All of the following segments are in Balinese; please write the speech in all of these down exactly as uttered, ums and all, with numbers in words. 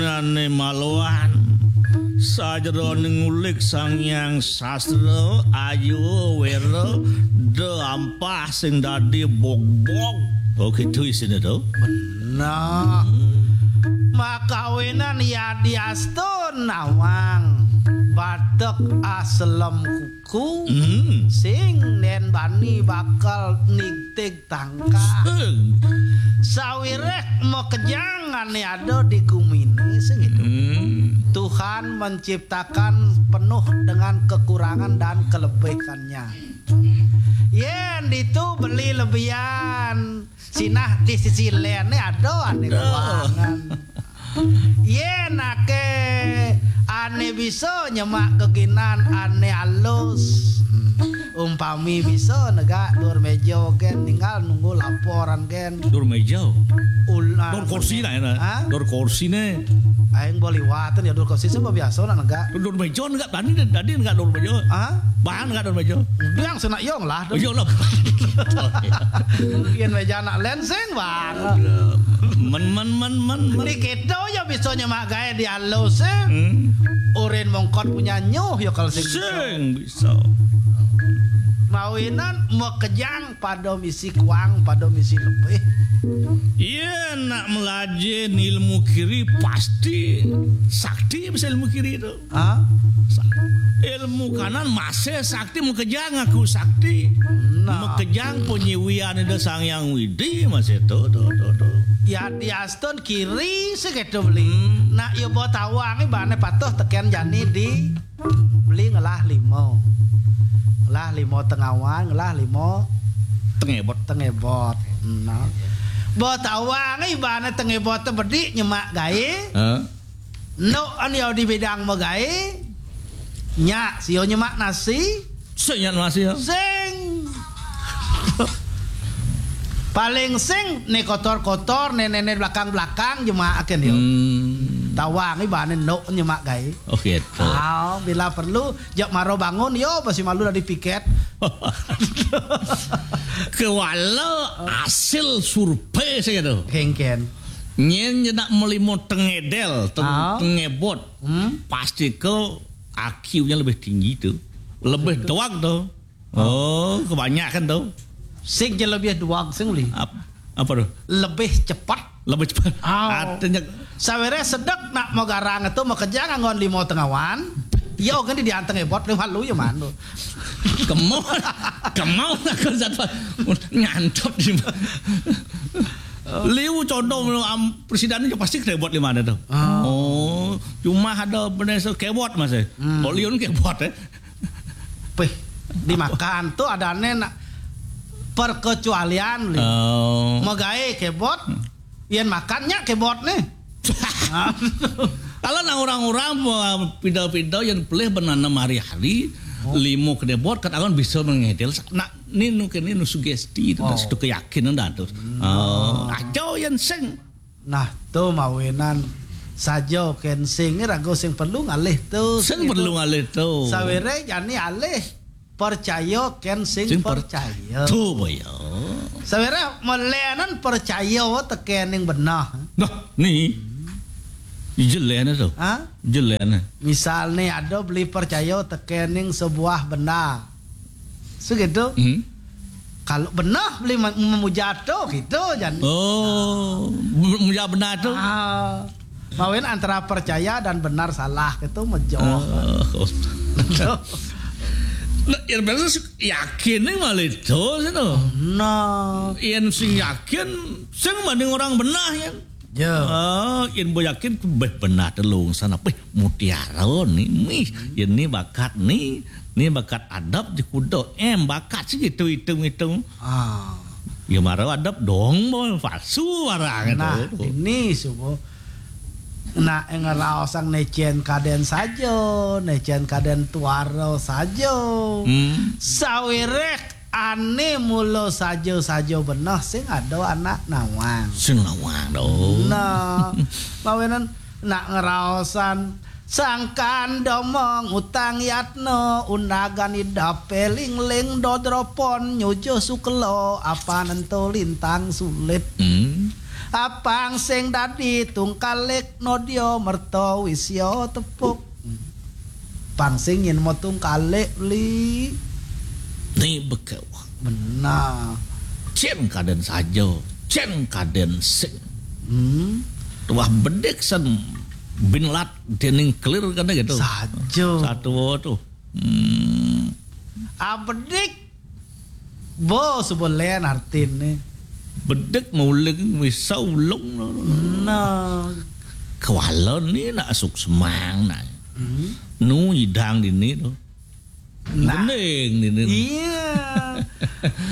Ane maloan sajeroning ngulik Sang Hyang Sastra, ayu wera, da ampah sing dadi bogbog. Oh, gitu isine to. Nah, makawinan yadiastun nawang batek aselem kuku. Hmm. Sing nen bani bakal nigtig tangkah. Sing. Sawiréh makejang ané ada di guminé, sing gitu. Hmm. Tuhan menciptakan penuh dengan kekurangan dan kelebihannya. Yén ditu beli lebihan, sinah di sisi léné ada ané kekurangan. Yén aké ané bisa nyemak geginan ané alus. Umpami bisa negak dur méja gén, tinggal nunggu laporan gén. Dur méja. Ulah. Dur kursi lah ya. Hah? Dur kursi né. Aing boleh liwatan ya dur kursi sih biasa nak negak. Dur méja negak tadi tadi negak dur méja. Hah? Bahan negak dur méja. Biang senak yong lah. Oh, iya lah. Yén méja nak lén sing, Bang. Men men men men men. Di kita ya bisa nyemak gaé di alus sing. Hmm. Urin mongkot punya nyuh ya kalau sing. Sing bisa. Mawinan makejang pada misi kuang, pada misi lebih. Iya, nak melajin ilmu kiri pasti sakti bisa ilmu kiri itu. Hah? Sa-, ilmu kanan masih sakti, makejang aku sakti. Nah. Makejang panyiwian Ida Sang Hyang Widi masih to, to, to, to. Ya diastun kiri segitu beli. Hmm. Nak yo bawa tawang ibané patuh tekén jani di beli ngelah limo. Ngelah limo tengawan, ngelah limo tengebot. Tengebot. Nah. Bawa tawang ibané tengebot bedik nyemak gaé. Heeh. Nok an yo di bidang magaé. Nyak sio nyemak nasi. Sing nyak nasi ya. Sing. Paling sing né kotor-kotor, né né né belakang-belakang nyemak aken yo. Hmm. Tawang ibané nok nyemak gaé. Oh gitu. Ah, bila perlu jak maro bangun yo masih malu dari piket. Kewala hasil survei saya tuh. Kengken. Nyén nyenak melimo tengedel, teng-, ah, tengebot. Hmm? Pasti ke I Q-nya lebih tinggi tuh. Lebih doang tuh. Oh, kebanyakan tuh. Sing je lebih doang sing li. Ap-, apa tuh? Lebih cepat. Lebih cepat. Oh. Artinya saweré sedek nak mau garang itu mau kerja nganggon limo tengawan. Iya, kan di dianteng ebot lima lu ya mana? Kemau, kemau nak ke zat nyantap di mana? Liu contoh am, presiden itu pasti kena buat lima ada tuh. Oh. Oh, cuma ada bener so kebot mas ya. Hmm. Kalau liun kebot ya. Pih, dimakan tuh ada nen perkecualian li. Oh. Magaé kebot, yén makannya kebot nih. Kalau nang orang-orang pindah-pindah yang pelih benanam hari-hari, oh, limo kena buat katakan bisa mengedel. Nak ninu kene nu sugesti itu, oh, situ keyakinan dah tuh. Hmm. Oh, aja yang sing. Nah, tuh mawinan saja kén sing, ragu sing perlu ngalih tuh. Sing gitu. Perlu ngalih tuh. Saweré jani alih percaya kén sing, sing per-, percaya. Tuh boyo. Saweré melénan percaya tekén ning benah. Nah, nih. Jeléné tuh. Hah? Jeléné. Misal nih ada beli percaya tekén ning sebuah benda. Segitu. Hmm. Kalau benah beli me-, memuja tuh gitu jan. Oh, memuja benah tuh. Ah. Mawin antara percaya dan benar salah itu mejoh. Oh. Nah, yang bener sih yakin nih malah itu sih tuh. Nah. Yang sing yakin, sing banding orang benah ya. Ya. Ah, yang bo yakin beh benah telung sana, beh mutiara nih, mih, ya nih bakat nih, nih bakat adab di kuda, em bakat sih gitu hitung-hitung. Ah. Ya mara adab dong bo palsu barang itu. Nah, ini subuh. Nak ngeraosang necen kaden saja, necen kaden tuara saja. Hmm. Sawiréh ané mula saja-saja benah sing ada anak nawang. Sing nawang dong. Nah, mawinan nak ngeraosan sangkan domong utang yatna undagan idapé lingling dodropon nyujuh sukela apa nento lintang sulit. Hmm. Apang sing dadi tungkalik nodya merta wisya tepuk. Pang sing yen mo tungkalik, Beli. Ni bekewa. Benar. Cen kaden saja, cen kaden sing. Hmm. Tuah bedik sen binlat dening kelir kene gitu. Saja. Satu tuh. Hmm. Abedik. Bo sebelen artine. Bedik mauling wisa ulung. Nah. Kewala ni nak suk semang nak. Hmm. Nu idang dini tu. Nah. Bening dini. Iya.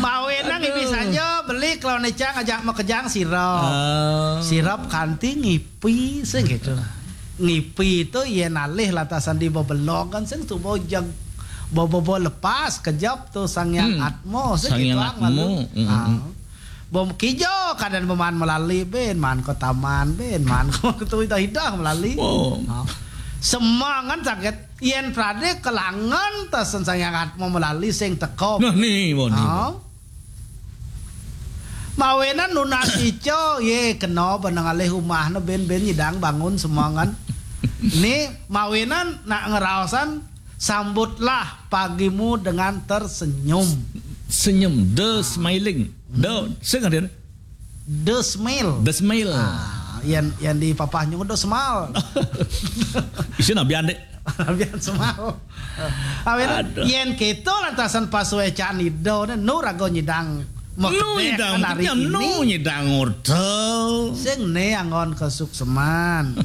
Mawe nang ini saja, Beli kalau necang ajak makejang sirop. Ah. Sirop kanti ngipi sing gitu. Ngipi itu yen alih lantasan di bebelong kan sing tuh bojeg. Bobo lepas kejap tuh Sang Hyang Atmo sing Sang gitu Hyang ang Atmo. Malu. Mm, mm. Ah. Bom kijo kadan beman melali ben man ke taman ben man ke tu hidah-hidah melali. Oh. Ah. Semangan sakit yen prade kelangan tasen Sang Hyang Atmo melali sing teko. Nah, ni, mo ni. Ah. Mawenan nunas ica, ye kena benang alih umahne ben-ben nyidang bangun semangan. Ni mawenan nak ngeraosan sambutlah pagimu dengan tersenyum. Senyum, the smiling. The, sing ada. The smile. The smile. Ah, yang yang di papah nyung the smile. Isi nabian dek. Nabian smile. Awen yen keto lantasan pasuecan ida ne nu raga nyidang. Nu nyidang hari ini. Nu nyidang orta. Sing ne anggon kesukseman.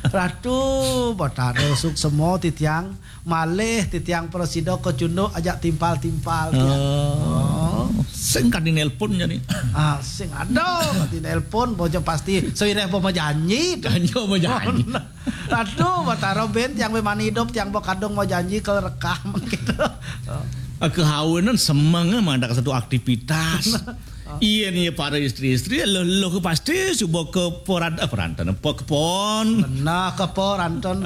Ratu Batara suksema titiang malih titiang prasida kecunduk ajak timpal-timpal tiang. Oh. Sing kadi nelpon jani. Ah, sing ada kadi nelpon bojo pasti sewireh bo majanji. Janji majanji. Aduh, Batara ben tiang be mani hidup tiang bo kadung mau janji ke rekah gitu. Kehawinan semeng mandak satu aktivitas. Iya nih para istri-istri lo lo ke pasti subo ke poran eh, poranten apa kepon. Nah, ke poranten.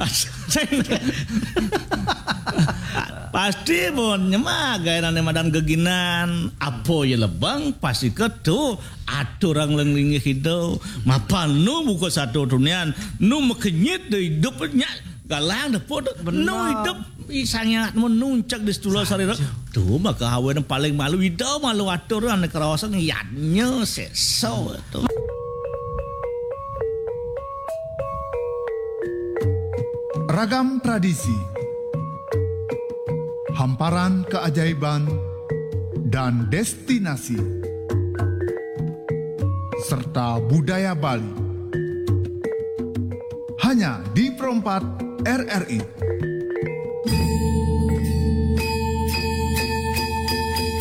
Pasti pun nyemak gaya nane madan geginan apa ya lebang pasti ketu atur orang lenglingi hidup mapan nu buka satu tunian nu mekenyit de hidup nya galang de podot nu hidup isangnya menuncak di setula sarira tu maka hawa paling malu ida malu atur ane kerawasan yadnya seso tu. Ragam tradisi, hamparan keajaiban, dan destinasi, serta budaya Bali. Hanya di Perempat R R I.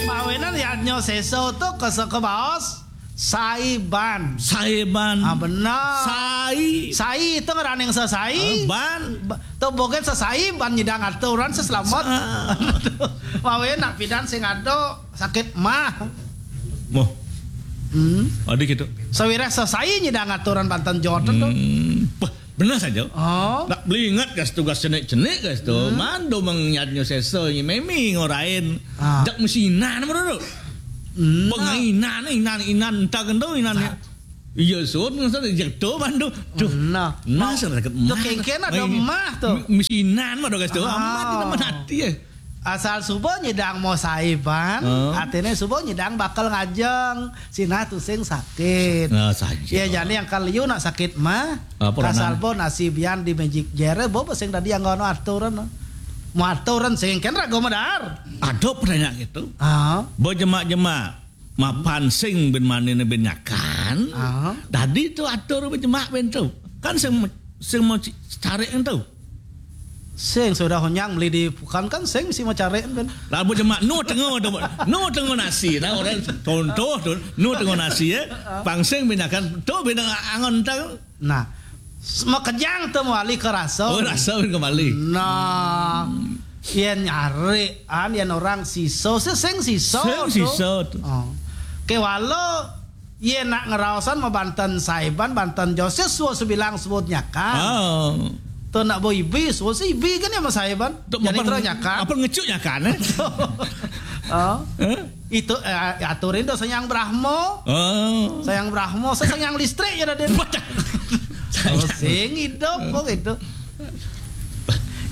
Mawinan yadnya seso tu keseke baos. Saiban. Saiban. Ah, benar. Sai. Sai itu ngeraning sesai. Ah, ban. Ba- Tu bogen sesai ban nyidang aturan seselamat. Mawe nak pidan sing ada sakit mah. Moh. Hmm. Ada gitu. Sawirah sesai nyidang aturan banten jot tu. Hmm. Wah, benar saja. Oh. Nak beli ingat gas tugas cenik-cenik gas tu. Hmm. Mando mengyadnya sesa ini memi ngorain. Ah. Jak mesinan menurut. Hmm. Pengainan inan inan tak kentu inan. Iya sun ngasal jatuh bandu. Duh. Nah, nah, sakit tu mah. Kengken ada mah tu. Mesinan mah dogas tu. Amat ini mah hati ya. Asal subuh nyidang mau saiban, artinya subuh nyidang bakal ngajeng. Sinah tu sing sakit. Nah, saja. Ya jadi yang kaliu nak sakit mah. Asal bo nasi bian di magic jere bo sing tadi yang ngono aturan. Mau aturan sing kan ragu medar. Ada pertanyaan gitu. Ah. Bo jemak-jemak. Mapan sing bin manine bin nyakan. Ah. Dadi tu atur bin jemak bin tu. Kan sing sing mau cari tu. Sing sudah honyang beli di bukan kan sing mesti mau cari bin. Labu jemak nu tengah tu. Nu tengah nasi. Nah orang contoh tu. Nu tengah nasi ya. Pang sing bin nyakan tu bin angon tu. Nah, makejang tu mawali ke rasa. Oh, rasa kembali. Nah, yen nyari an yen orang siso sing siso. Sing siso tu. Oh. Kewala yen nak ngeraosan mabanten saiban banten Joseph suwa sebilang sebut nyakan. Oh. Tu nak bo ibi suwa si ibi kan ya masaiban. Jadi terus nyakan. Apa ngecuk nyakan eh? Oh. Eh? Itu, eh, aturin do Sang Hyang Brahma. Oh. Sang Hyang Brahma, Sang Hyang Listrik ya, Raden. Oh, sing hidup kok gitu.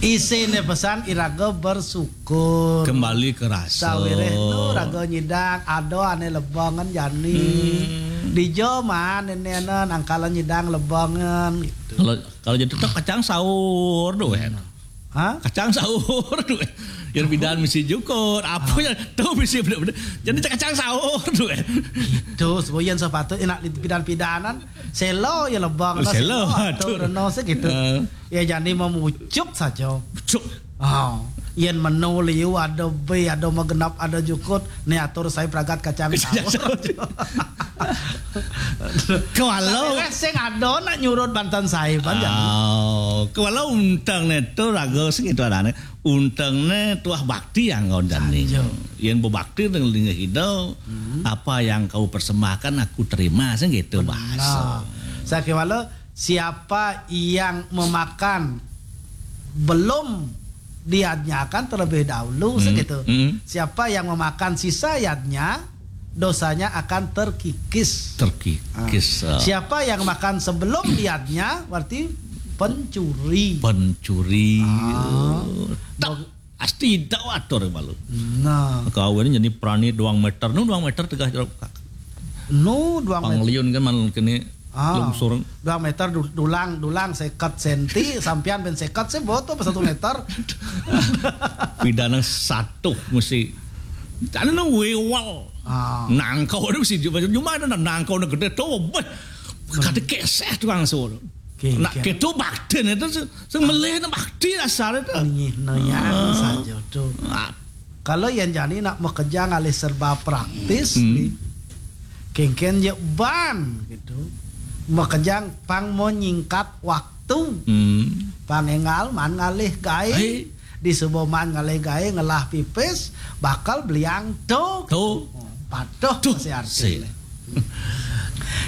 Isine pesan iraga bersyukur. Kembali ke rasa. Sawiréh nu raga nyidang, ada ané lebengan jani. Hmm. Dija man nénénan nangkala nyidang lebengan gitu. Kalau, kalau jadi tetep kacang saur tuh, kan. Hah? Kacang saur tuh. Yang bidan misi jukut, apa ya? Tuh misi bener-bener. Jadi kacang saur tuh, kan. Itu sebuah yang sepatut enak di pidan-pidanan. Selo ya lebang, selo, selo, atur, atur, no, segitu. Eh. Ya, jadi memucuk saja. Cuk. Oh, yen menu liu ada bé, ada magenap, ada jukut, né atur saya pragat kacang saur. Kewala. Sing ada nak nyurut banten saya, Bang, jadi. Oh, kewala unteng né tuh raga sing itu adané. Unteng né tuah bakti yang kau jani. Saja. Yen bebakti dengan linggih ida, hmm, apa yang kau persembahkan aku terima, sing gitu bahasa. Nah, saya kewala, siapa yang memakan belum diadnyakan terlebih dahulu, hmm, segitu. Hmm. Siapa yang memakan sisa yadnya, dosanya akan terkikis. Terkikis, ah. Siapa yang makan sebelum yadnya, berarti pencuri. Pencuri. Ah. Tak, pasti tidak atur malu. Nah. Kawin jadi prani dua meter, nu dua meter tegah jeruk. Nu dua meter. Pangliun kan man kene. Ah, lungsur. Dua meter du-, dulang, dulang seket senti, sampean ben seket sih, boto apa satu meter. Pidana satu mesti. Ada nang wewal. Ah. Nangkau ada mesti cuma, cuma ada nangkau na gede tuh, beh. Kata keseh tukang sur. Oke, nak oke. Gitu bakti itu se-, sing melih na bakti dasar itu. Nggih, no yang, ah, saja tuh. Ah. Kalau yang jani nak makejang alih serba praktis, hmm, nih. Kéngkén ya ban gitu. Makejang pang mau nyingkat waktu. Hmm. Pang énggal man ngalih gaé. Hai. Di suba man ngalih gaé ngelah pipis, bakal beliang tuh. Tuh. Patuh tuh, masih arti.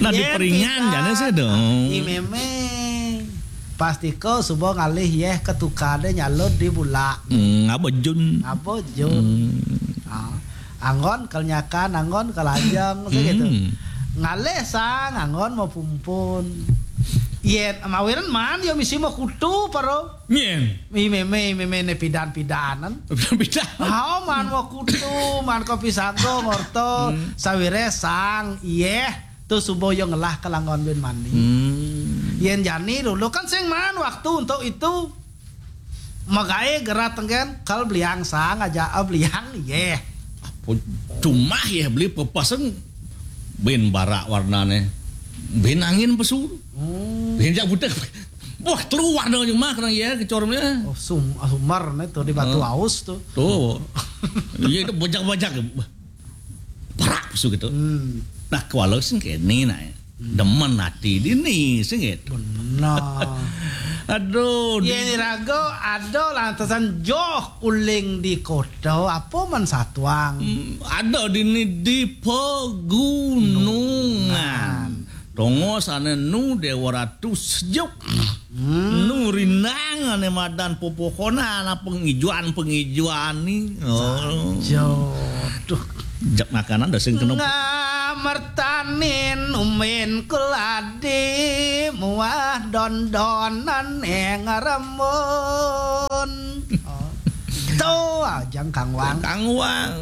Nah, yén diperingan tidak jane sih dong. I mémé. Pastika suba ngalih yéh ketukade nyalud di bulak. Hmm, ngaba jun. Ngaba jun. Hmm. Ah. Anggon kelnyakan, anggon kelajeng, segitu. Hmm. Ngalih sang, anggon mau pumpun. Yén mawiren man, ya misi mau kutu, paro. Nyén. I mémé, i mémé né pidan-pidanan. Pidan-pidan. Ah, man mau kutu, man kopi sago, ngorto, hmm, sawiréh sang, iyéh. Tuh suba ya ngelah kelanggon bin mani. Hmm. Yén jani dulu kan sing man waktu untuk itu. Magaé gerat tenggen, kal beliang sang aja, ah, beliang, yéh. Apa cuma ya beli pepaseng bin barak warnane. Bin angin pesu. Oh. Bin jak butek. Wah, keluar dong cuma kena ya kecornya. Oh, sum-, ah, sumar né tuh di Batu, oh, Aus tuh. Tuh. Iya, itu bojak-bojak. Parak su gitu. Hmm. Nah, kewala sing kene nah. Hmm. Demen ati dini sing gitu. Benar. Aduh, yén di raga ada lantasan joh uling di kota, apa man satuang? Hmm, ada dini di pegunungan. Nungan. Tongo sana nu Dewa Ratu sejuk. Hmm. Nu rindang ane madan popohonan, apa pengijuan-pengijuan ni. Oh. Saja. Duh. Jak makanan dah sing kena. Ngamertanin umin keladi muah dondonan ing rembun. Oh. Tuh, ajang Kang Wang. Kang Wang.